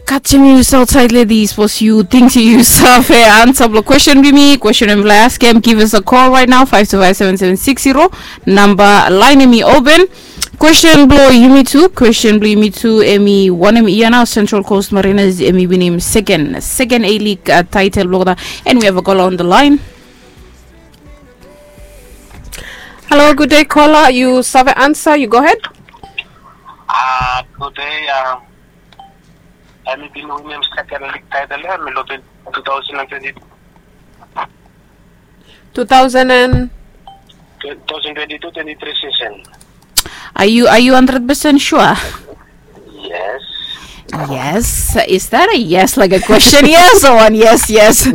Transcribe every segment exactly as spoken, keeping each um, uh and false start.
Katsim yu saut said ledi, sapos yu ting se yu save ansa blong kwestin blong yumi, kwestin blong yumi blong askem, give us a call right now, five two five seven seven six zero. Namba lain hemi open. Kwestin blong yumi tu, kwestin blong yumi tu, hemi wanem yia nao Central Coast Mariners hemi winim seken, seken A League, uh, taetel blong olgeta. And we have a caller on the line. Halo, gud dei, kola. Yu save ansa, yu go hed. Ah, gud dei. Um, hemi bin winim seken lig taetel ya, hemi long tu taosen and twenti tu. Tu taosen and? Tu taosen twenti tu twenti tri sisen. Are you, are you hundred percent sure? Yes. Yes. Is that a yes, like a question? Yes, or one? Yes, yes.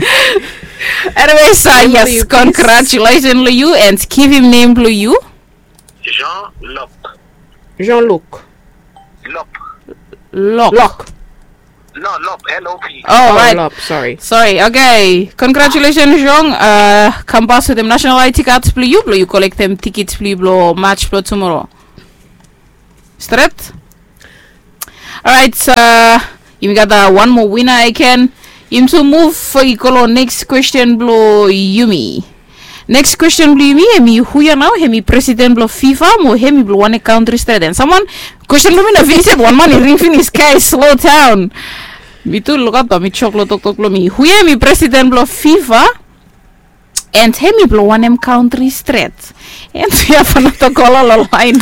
Anyways, uh, yes, congratulations long yu and give him name blong yu. Jean Lop. Jean Luc. Lop. Lok. Lok. No, Lop, L O P. Oh, right. Lop, sorry. Sorry. Okay. Congratulations, Jean. Uh, kambas wetem national I D cards blong yu, blong yu kolektem tikits blong yu blong match blong tumoro. Stret? Alright, uh, yumi gat, uh, wan moa wina agen. Yumi tu muv i go long neks kwestin blong yumi. Neks kwestin blong yumi, hemi hu ya nao, hemi presiden blong FIFA mo hemi blong wanem kantri stret? And samwan, kwestin blong mi no finis yet, wan man i ring finis, guys, slow down. Mi tu lukaot, bae mi jok long toktok blong mi. Hu ya hemi presiden blong FIFA? And hemi blong wanem kantri stret? And we have another caller long line.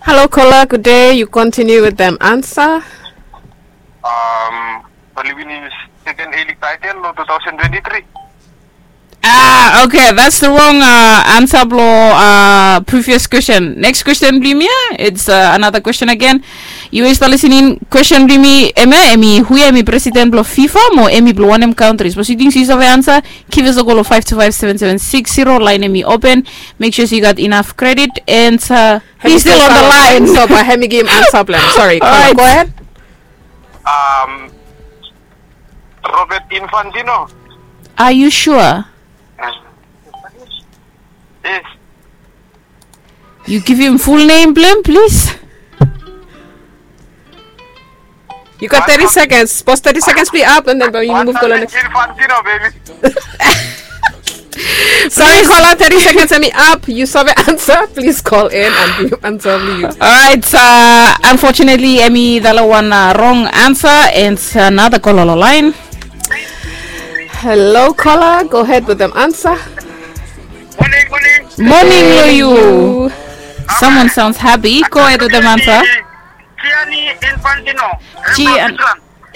Halo, kola, gud dei. Yu kontiniu wetem ansa. Um, oli winim seken A League taetel long tu taosen twenti tri. Ah, okay, that's the wrong, uh, ansa blong, uh, previous kwestin. Neks kwestin blong yumi ya, it's, uh, another question agen. Yu we yu stap lisening, kwestin blong yumi, hemia, hemi hu ya hemi presiden blong FIFA mo hemi blong wanem kantri? Sapos yu ting se yu save ansa, give us a call long five two five seven seven six zero, lain hemi open. Mek sua se yu gat inaf kredit and, uh, he's still on the line. So bae hemi givim ansa blong hem. Sorry, kola, go ahead. Um, Robert Infantino. Are you sure? Yes. Yu givim ful nem blong hem, plis. Yu gat teti sekens. Sapos teti sekens blong yu ap, and then bae yu muv go long neks. Infantino, baby. Sori, kola, teti sekens hemi ap. Yu save ansa, plis call in and givim ansa blong yu. Alright, uh, unfortunately, hemi dala wan, uh, rong ansa, and, uh, another caller long line. Halo, kola, go ahed wetem ansa. Moning, moning. Moning long yu. Samwan sounds happy. Go ahed wetem ansa. Gianni Infantino. Gian-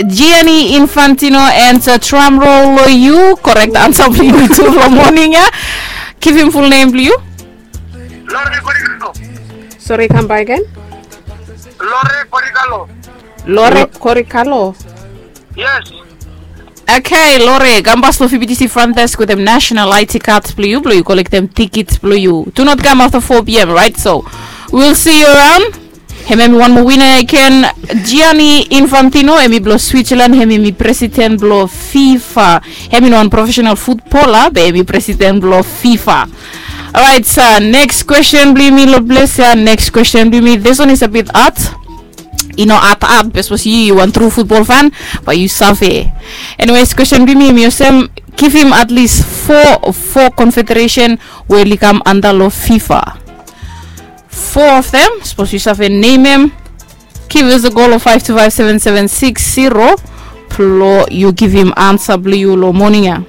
Gianni Infantino and, uh, drum roll long yu. Korek ansa blong yu tu long moning ya. Givim ful nem blong yu. Lore Korikalo. Sori, kam baek agen. Lore Korikalo. Lore Korikalo. Yes. Okay, Lore, kambas long F B T C front desk wetem national I D cards blong yu, blong yu kolektem tikits blong yu. Do not come after four p.m., right? So, we'll see you around. Hemia hemi wan moa wina agen, Gianni Infantino, hemi blong Switzerland, hemi, hemi presiden blong FIFA. Hemi no wan profesenal futbola, be hemi presiden blong FIFA. Alright, so neks kwestin blong yumi long ples ya, neks kwestin blong yumi, this one is a bit hard. I no hat hat, be sapos yu, yu wan tru futbol fan, bae yu save. Anyways, kwestin blong mi hemi olsem, givim at least fo, fo konfederesen we oli kam anda long FIFA. Fo of dem, sapos yu save nemem, give us a call long five two five seven seven six zero, blong yu givim ansa blong yu long moning ya.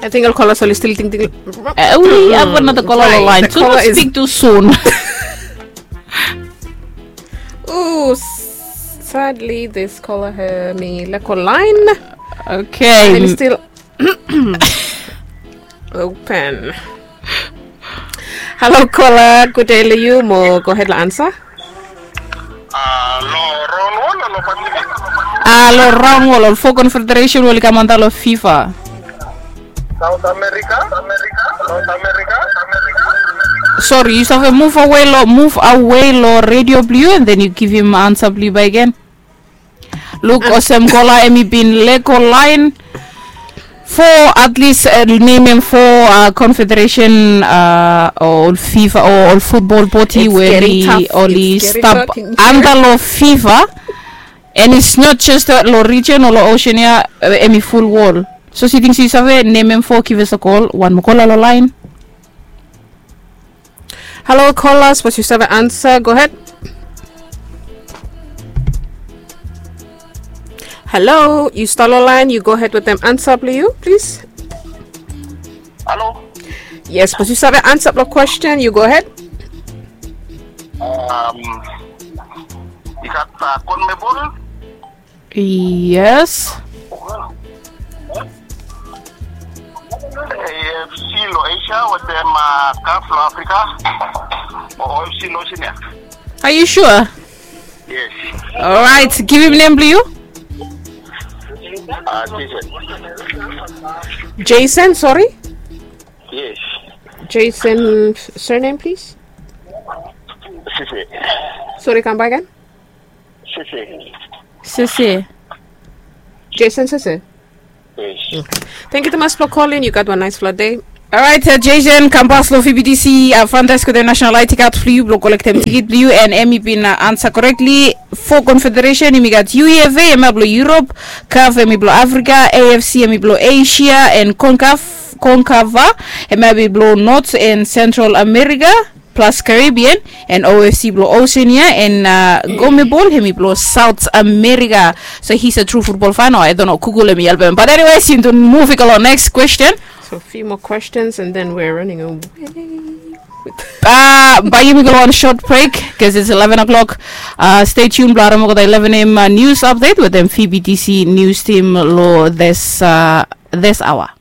Ating ol kola oli stil tingting. Eh, we have another caller on the line. Do not speak too soon. Ooh, sadly, this caller hemi leko laen. Okay. Hemi stil open. Halo, kola, gud dei long yu, mo go ahed long ansa. Ah, long raon wol o long Pasifik? Ah, long raon wol, ol fo konfederesen we oli kam anda long FIFA. South America, America, South America. Sori, yu save muv awe long, muv awe long redio blong yu, and then yu givim ansa blong yu bakegen. Luk olsem kola hemi bin lego laen. Fo at least, nemem fo confederation o ol fifa o ol futbol bodi we oli stap anda long fifa. And it's not just long region o long ocean ya, em i ful wol. So siting si save nemem fo give us a call wan mokola long lain. Halo kola sapos yu save ansa go hed. Halo yu stalo lain yu go hed wetem ansa blong yu plis. Halo. Yes sapos yu save ansa blong kwestin yu go hed. Yu gat konmebol. Yes. Afc long asia wetem kaf long afrika. O afc long ocean ya. Are you sure? Yes. Alright, give him name blong yu. Jason, sorry. Yes. Jason, surname please. Sisi. Sorry, come back again. Sisi. Sisi. Jason Sisi. Thank you tumas blong kolin yu gat wan nais fla dei. Orait jason kambas long vbtc. Fantas go de national id card blong yu blong kolektem tikit blong yu and em i bin ansa korektli. Fo konfederesen em i gat uefa em ya blong yurop, kaf em i blong afrika, afc em i blong asia and konkaf konkava em ya i blong not and sentral amerika, plas karibian and ofc blong osean ya and gomebol em i blong saut amerika. So his a tru futbol fan o i dono kugul em i helpem bat eniwes yu tu muv i go long neks kwesten. So few more questions and then we're running away. Bai yumi go long wan short break, bikos its eleven o'clock. Stay tuned blong harem olgeta eleven am news update wetem vbtc news team long this this hour.